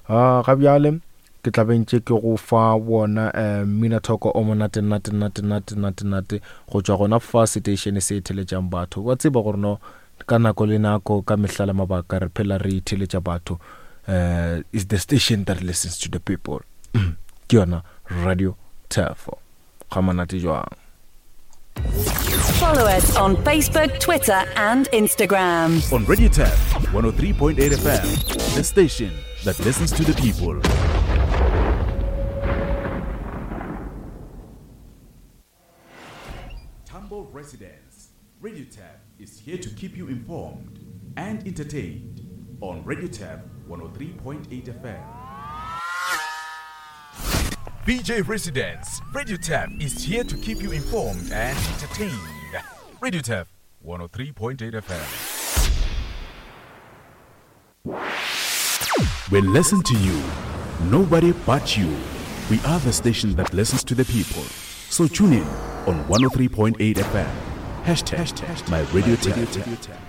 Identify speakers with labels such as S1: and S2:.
S1: Uh, ga bjale ke tla be ntše ke go fa wona um mminathoko o monate nate nate nate nate nate go tšwa gona fa seteišene se theletšang batho. Wa tseba gore no ka nako le nako ka mehla le mabaka re phela re theletša batho. Uh, is the station that listens to the people. Ke yona Radio Thefo. Ga monate jwang.
S2: Follow us on Facebook, Twitter, and Instagram.
S3: On Radio Tap 103.8 FM, the station that listens to the people. Tambo residents, Radio Tap is here to keep you informed and entertained on Radio Tap 103.8 FM. BJ Residents, Radio Tap is here to keep you informed and entertained. Radio Tap 103.8 FM. We listen to you, nobody but you. We are the station that listens to the people. So tune in on 103.8 FM. Hashtag, my radio tap.